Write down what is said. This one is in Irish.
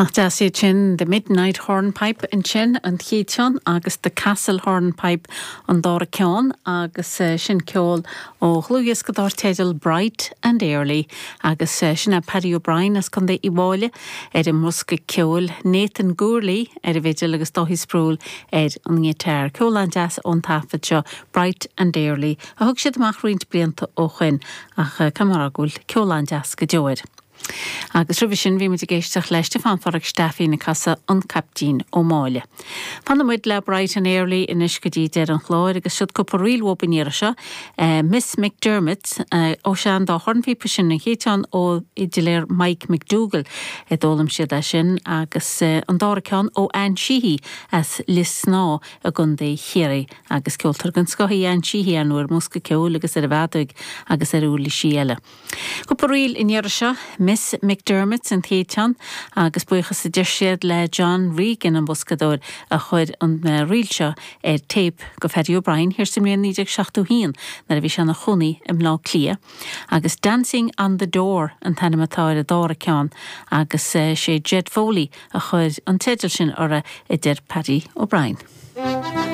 Nach deas iad sin, The Midnight Hornpipe ansin, an chéad cheann, agus The Castle Hornpipe an dara ceann, agus sin ceol ó dhlúthdhiosca dar teideal Bright and Early, agus sin é Paddy O'Brien as Contae Uíbh Fhailí ar an mbosca ceoil, Nathan Gourley ar an bhfidil agus Dáithí Sproule ar an ngiotár. Ceol an-deas ón taifead seo, Bright and Early, a thug siad amach roinnt blianta ó shoin, ach caithfidh mé a rá go bhfuil ceol an-deas go deo air. Agus roimhe sin bhí muid ag éisteacht le Stiofán Phádraic Steifín ag casadh An Caiptín Ó Máille. Fanfaidh muid le Bright and Early anois go dtí deireadh an chláir agus siod cúpla ríl uathub an iarraidh seo. Miss McDermott, ó sea an dá chornphíopa sin, an chéad cheann ó fhidiléir Mike McDougall a d'fhoghlaim siad é sin agus an dara ceann ó Ann Sheehy as Lios Snámha i gContae Chiarraí agus ceoltóir den scoth í Ann Sheehy ar ndóigh ar an mbosca ceoil agus ar an bhfeadóig agus ar uirlisí eile. Cúpla ríl an iarraidh seo, Miss McDermott an chéad cheann agus buíochas a deir siad le John Regan an boscadóir a chuir an ríl seo ar téip go Phaddy O'Brien thiar sa mbliain 1971 nuair a bhí sé ina chónaí i mBleá Cliath. Agus Dancing on the Door an t-ainm atá ar an dara ceann agus sé Jed Foley a chuir an teideal sin orthu a deir Paddy O'Brien.